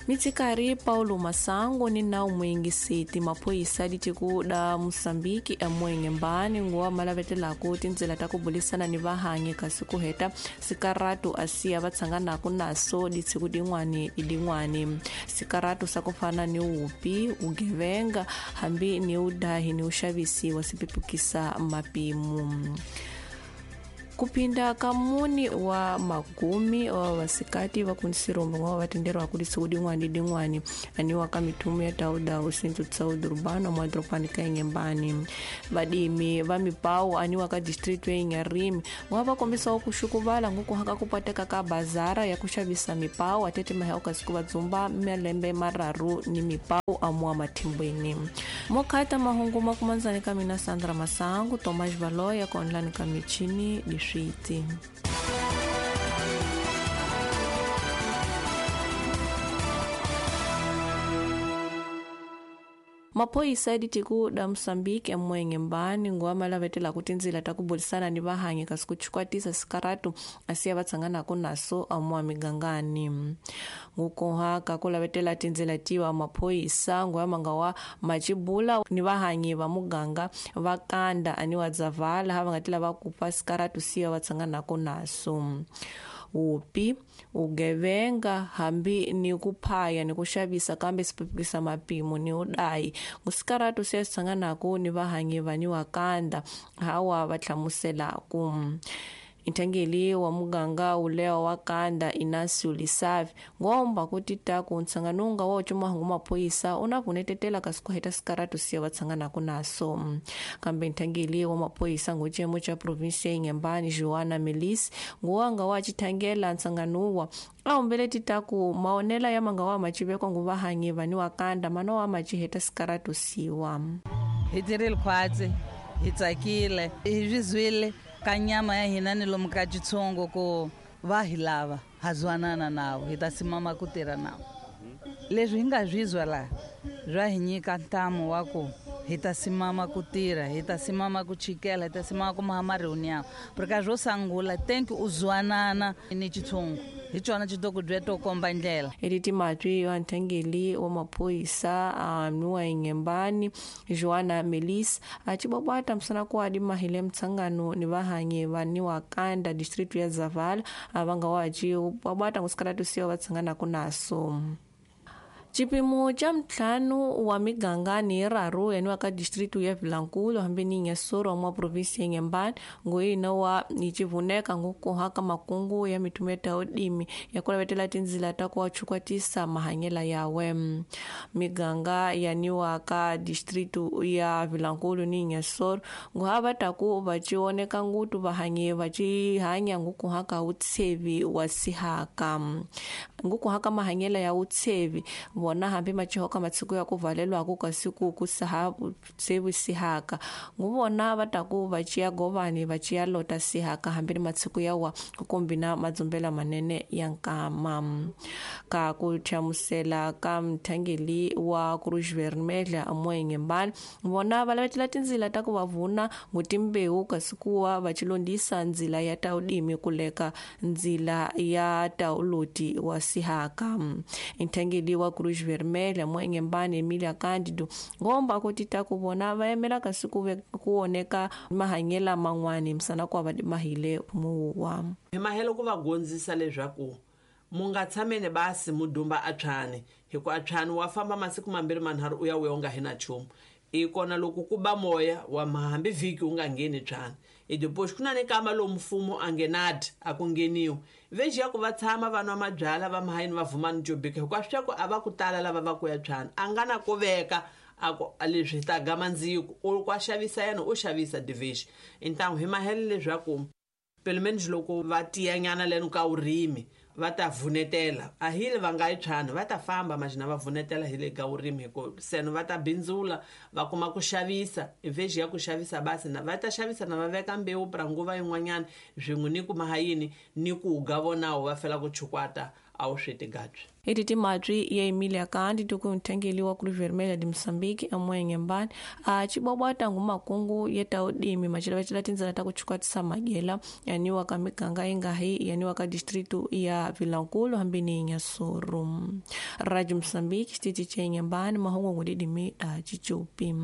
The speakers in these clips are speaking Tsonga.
Mitsikari Paulo Masango ni nawu muyingiseti maphorisa ditiko da Mosambiki amuengembani nguwa malavetelaku tindzela ta ku bulisana ni vahanyi kasi ku heta sikaratu asiya va tshanganaku naso ditshiku din'wani ni din'wani sikaratu sa ku fana ni wupi ugevenga hambi ni udahi ni uxavisi wa sipipukisa mapimu. Kupinda kamuni wa magumi wa vasikati va kunsirombo ngwa vatenderwa ku disiku din'wani din'wani aniwa ka mithumu ya tauda usintu tsauda urbano mwa dropani ka Inhambane. Vadimi va mipawu aniwa ka distrito ya Inharime ngwa va kombisawo ku xukuvala nguku haka ku pateka ka bazara ya ku xavisa mipawu atete maheo kasi ku va dzumba malembe mararu ni mipawu amuwa mathimbweni. Mokhata mahungu makumanzani ka mina Sandra Masangu Tomas Valoya ka online ka michini diswiti. Maphorisa ya ditiko da Mosambiki amuengembani nguwa malavetelaku tindzila ta ku bulisana ni vahanyi kasi ku chukwatisa sikaratu asiya va tshanganaku naso amuwa migangani. Ngukoha ka ku lavetela tindzila tiwa maphorisa nguwa manga wa machibula ni vahanyi va muganga va kanda aniwa dzavala ha va nga ti lava ku pa sikaratu siya va tshanganaku naso. Upi ugevenga hambi ni ku phaya ni ku xavisa kambe sipipikisa mapimo ni udayi ngusikaratu siya sitshanganaku ni vahanyi va ni wakanda hawa va hlamuselaku. Nthangeli wa muganga ulewa wa kanda Inácio Lisavi ngomba kuti taku ntsanganunga wa ucuma maphorisa una vunetetela kasi ku heta sikaratu siya va tshanganaku naso. Kambe nthangeli wa maphorisa ngucemo cha provinsia ya Inhambane Joana Melis nguwanga wa chithangela ntsanganuwa a humbele titaku maonela ya manga wa machivekwa nguvahanyi vani wa kanda mana wa machiheta sikaratu siwa. Hi tirhile khwatsi, hi tsakile, hi swi zwile ka nyama ya hina ni lomu ka xitshungu ku va hi lava ha zwanana navo hi ta simama ku tirha navo. Leswi hi nga swi zwa laha swa hi nyika ntamu wa ku hi ta simama ku tirha, hi ta simama ku chikela, hi ta simama ku maha marhoni yawo. Porque swo sungula thank u zwanana ni xitshungu hi xona xi to ku byela to komba ndlela. Editi matwi wa nthangeli wa maphorisa anuwa Inhambane Joana Melis a chibwabwata msana ku adi mahile mtsangano ni vahanyi va ni wa kanda district ya Zavala avanga wa chibwabwata ngusikaratu siwa va tshanganaku naso. Chipimo cha mtlhanu wa miganga ni raru yaniwa ka distritu ya Vilankulo hambi ni Inhassoro mwa provinsi ya Inhambane ngoyina wa nichivuneka ngukuha ka makungu ya mitumeta ya udimi ya kulavetela tindzila ta ku wachukwatisa mahanyela yawe. Miganga yaniwa ka distritu ya Vilankulo ni Inhassoro nguhava taku vachioneka ngutu vahanyi vachihanya ngukuha ka utsevi wa sihaka ngukuha ka mahanyela ya utsevi vona hambi machihoka matsiko ya ku valelwaku kasi ku ku saha tsevi sihaka nguvona va taku va chiya govani va chiya lota sihaka hambi ni matsiko ya wa ku kombina madzumbela manene ya nkama. Ka ku hlamusela ka mthangeli wa Cruz Vermelha amuengembani vona va lavetela tindzila ta ku va vuna ngutimbewu kasi ku wa va chilondisa ndzila ya taudimi kuleka ndzila ya tauloti wa sihaka. Nthangeli wa Cruz Vermelha Inhambane Emilia Cândido ngomba kuti taku vona va yimela kasi ku oneka mahanyela man'wani misana ku va mahile muwa. Hi mahelo ku va gondzisa leswaku mu nga tshameni basi mu dumba atshani hi ku atshani wa famba masiku mambirhi manharhu u ya u nga hina nchumu. I kona loko ku ba moya wa hambi vhiki u nga ngheni tshani. I depois ku na ni kama lomu mfumo a ngenadi a ku ngheniwi veji ya ku va tshama va nwa mabyala va mahayini va vhumani jobika hikuva swi ku a va ku tala lava va ku ya tshani a nga na ku veka a ku leswi ta gama ndziko u kwa xavisa yena u xavisa division. Então hi mahele leswaku pelo menos loko va tiyanyana leno ka urimi va ta vunetela a hile va nga yi tshani va ta famba majina va vunetela hi le ka urimi hi ku seno va ta bindzula va kuma ku xavisa veji ya ku xavisa basi na va ta xavisa na va veka mbewu pra nguva yin'wanyana swin'we ni ku mahayini ni ku ga vonawo va fela ku chukwata A wu swi tigabyi. Eti timatwi ya Emilia Kandi tukunthengeliwa Cruz Vermelha de Moçambique amuenye mbani a cibwabwata ngu makungu yeta udimi macilavacila tindzela ta kuchukwatisa madyela yaniwa ka miganga ingahi yaniwa ka distrito ya Vilankulu hambi ni Inhassoro. Rádio Moçambique xitichi ca Inhambane mahungu ngudidimi da cicupi.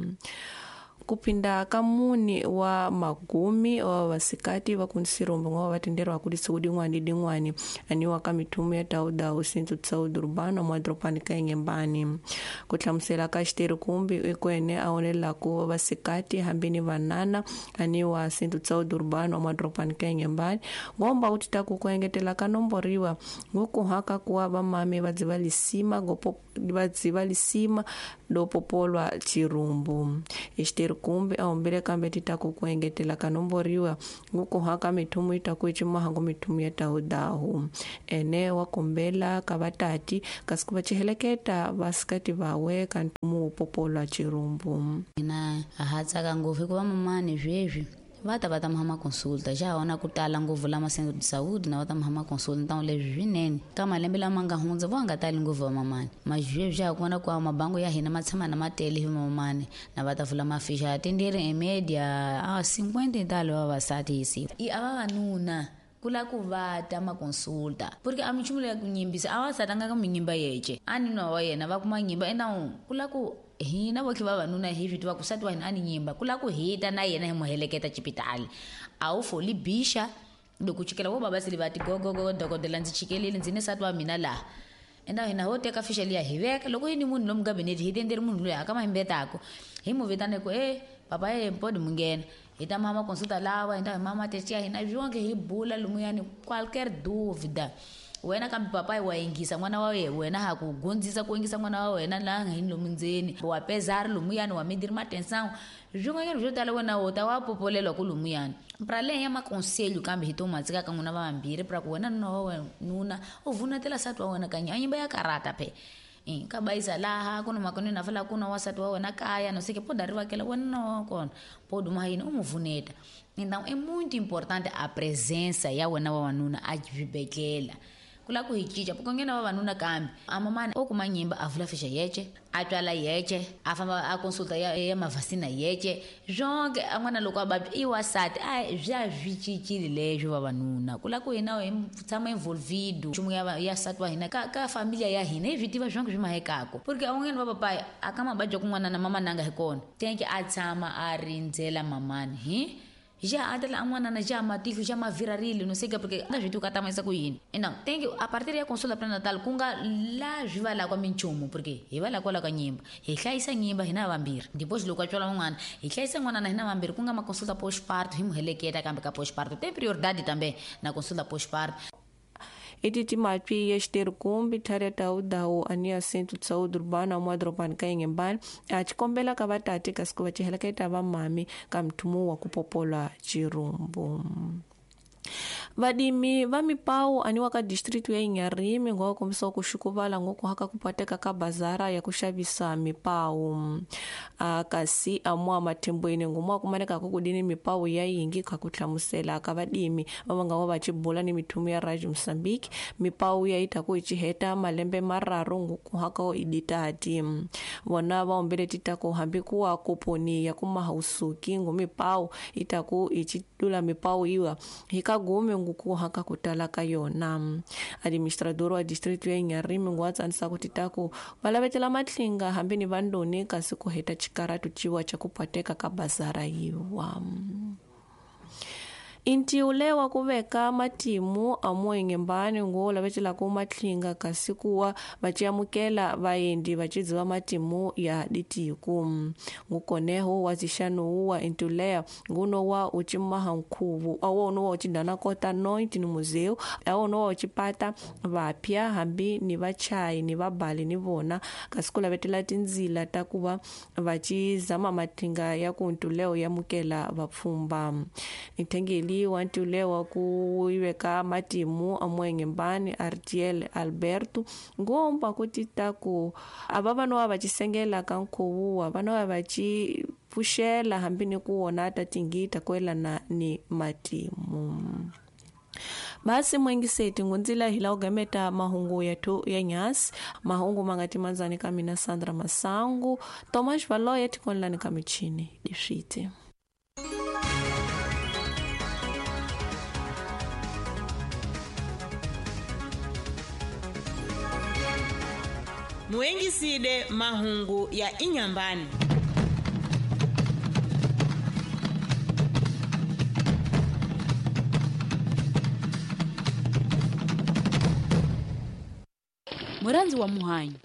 Kupinda ka muni wa magumi wa vasikati va kunsirombo ngwa vatenderwa kuti siku din'wani din'wani aniwa ka mithumu ya tawudawu centro de saúde urbano mwadropani ka Inhambane. Ku hlamusela ka xiteri kumbi ikwene a onelaku vasikati hambi ni vanana aniwa centro de saúde urbano mwadropani ka Inhambane ngomba kuti taku ku engetela ka nomboriwa ngokuhaka kuwa vamame va lisima gopo va lisima dopopolwa chirumbu. Xiteri kumbe a humbile kambe titaku ku engetela ka nomboriwa ngukuhaka mithumu itaku icimahangu mithumu ya tawudahu ene wa kombela ka vatati kasi ku va ciheleketa vasikati vawe ka ntumu wo popolwa chirumbu. Hina ha tsaka ngopfu hikuva mamani sweswi va ta va ta mahama consulta xa hona ku tala ngopfu lama centro de saúde na va ta mahama consulta ntawu leswi swinene ka malembe lama nga hundza vo nga tali ngopfu va mamani mazweswi xa kona ku mabango ya hina ma tshama na ma tele hi mamani na va ta vula mafixa tendere em média a 50 talo vavasati hi siku i a vavanuna kula ku va ta ma consulta porque a minchumu leya ku nyimbisa a va satanga ka minyimba yece a ni nwa wa yena va kuma nyimba enawu kula ku hina voke vavanuna hi swi tiva ku sati wa hina a ni nyimba ku lava ku hita na yena hi mu heleketa xipitali a wu foli bixa loko chikela vo baba sele va ti gogogo dokodela ndzi chikelile ndzi ni sati wa mina laha enda hina ho teka fixa liya hi veka loko yi ni munhu lomu gabinete hi tenderi munhu loyi a ka mahimbetako hi mu vitane ku e papa e mpodi mu nghena hi ta mama consulta lawa hi ta hi mama test ya hina swonke hi bula lumuyani qualquer dúvida wena kambe papai wa yingisa n'wana wa wena ha ku gondzisa ku yingisa n'wana wa wena laha nga hini lomu ndzeni wa pezari lumuyani wa midiri matensão swin'wanyana swo tala wena wo ta wa popolelwa ku lumuyani pra leyi ya makonselho kambe hi to matsika ka n'wina va vambirhi pra ku wena nuna wa wena nuna u vunatela sati wa wena kanye a nyimba ya karata phe ka bayisa laha ku na makoneni a fala ku na wasati wa wena kaya no sei que pode arrivar aquela wena na wa kona pode uma yini u mu vuneta. Então é muito importante a presença ya wena wa wanuna a xibedhlele ku lava ku hi cinca porque nghena vavanuna kambe a mamani o kuma nyimba a vula fixa yece a twala yece a famba a consulta ya mavhasina yece swonke a n'wana loko a vabya i wasati a swa swi cincile leswo vavanuna ku lava ku hina hi tshama involvido nchumu ya sati wa hina ka familia ya hina hi swi tiva swonke swi mahekako porque a n'wanyana va papayi a ka mababya kun'wana na mamananga hi kona tenke a tshama a rindzela mamani hi já atela a n'wana já matihlo já mavirarile no sei que porque nga swi tivi ka tamayisa ku yini ina thank you a partir ya consulta prenatal ku nga la swi va la kwa minchumu porque hi va la kwala ka nyimba hi hlayisa nyimba hina vambirhi depois loko a tswala n'wana hi hlayisa n'wana na hina vambirhi ku nga ma consulta postparto hi mu heleketa kambe ka postparto tem prioridade também na consulta postparto. Eti timatwi ya xiteri kumbi thari ya tawudawu ani ya centro de saúde urbana mwadropani ka Inhambane a cikombela ka vatati kasi ku va ciheleketa vamami ka mthumu wa ku popola chirumbu. Vadimi va mipawu aniwa ka distrito ya Inharime ngo kombisa ku xukuvala ngoku haka ku pateka ka bazara ya ku xavisa mipawu kasi amwa mathembweni ngomwa kumaneka ku kudini mipawu ya yingi ka ku hlamusela ka vadimi va nga va chibula ni mithumu ya Radio Mozambique mipawu ya ita ku ichiheta malembe mararu ngoku haka iditati vona va ombele titako hambi kuwa koponi ya kumahausuki ngomipawu itaku ichitula mipawu iwa hikagume nguku haka kutala ka yona. Administrador wa distrito ya Inharime ngwatsanisa kuti taku valavetela matlinga hambi ni vandoni kasi ku heta chikaratu chiwa cha kupateka ka bazara yiwa. Intiule wa kuveka matimu amuengembani ngo lavetela ku matlinga kasi kuwa vaciamukela vaendi vacidziva matimu ya ditiku ngukoneho wa zixanuwu wa intiulea nguno wa ucimaha nkhuvu awono wa ucidana kota noite ni museu awono wa ucipata vapya hambi ni vachayi ni vabali ni vona kasi ku lavetela tindzila ta kuva vacizama matlinga ya ku intiuleo yamukela vapfhumba. Intengeli wantiulewa ku iveka matimu amuengembani Artiel Alberto ngomba kuti taku ava vanowa vacisengela ka nkhuvuwa vanowa vaci pfuxela hambi ni ku wona ta tingita kuelana ni matimu. Basi mwengiseti ngunzila hila ugameta mahungu yetu ya nyasi mahungu mangati manzani kamina Sandra Masangu Thomas Valoye tikonlani kamichini difite. Muengiside mahungu ya inyambani. Muranzi wa muhanyi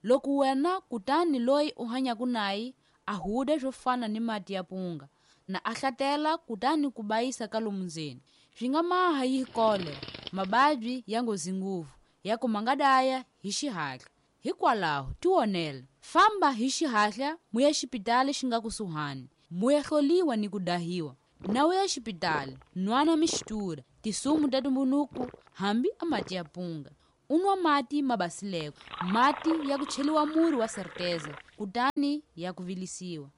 loko wena kutani loyi u hanyaku naye a huda swo fana ni mati ya punga na a hlatela kutani ku bayisa ka lomu ndzeni swi nga maha yi kolera mababyi ya nghozi ngopfu ya ku ma nga daya hi xihatla. Hikwalaho tionela famba hi xihatla muya xipitali xi nga kusuhani muya hloliwa ni ku dahiwa na uya xipitali nwana mixtura tisumu ta tumbunuku hambi a mati ya punga unwa mati mabasileko mati ya ku cheliwa muri wa serteza kutani ya ku vilisiwa.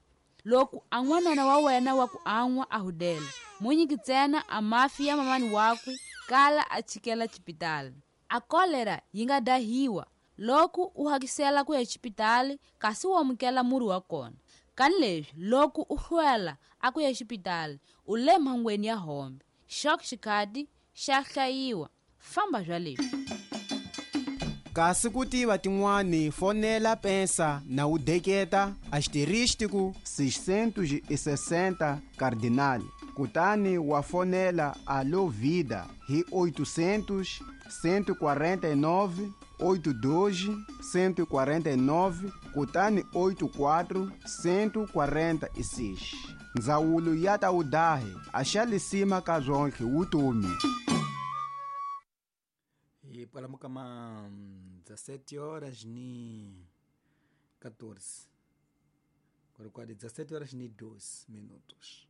Loko a n'wanana wa wena wa ku an'wa a hudela munyiki ntsena a mafi ya mamani wakwe kala a chikela xipitali. A kolera yi nga dahiwa loko u hakisela ku ya xipitali kasi u amukela muri wa kona. Kani leswi loko u hlwela a ku ya xipitali u le mhangweni ya hombe xok xikhati xa hlayiwa famba bya leswi. Kasi ku tiva tin'wani fonela pensa na u deketa asterístico 660 cardinal kutani wa fonela Alô Vida hi 800 149 82 149 kutani 84 146. Ndzawulo ya ta udahe a xa lisima ka zwonke wutomi. E para Mucamã, 17h14. Agora 17h12.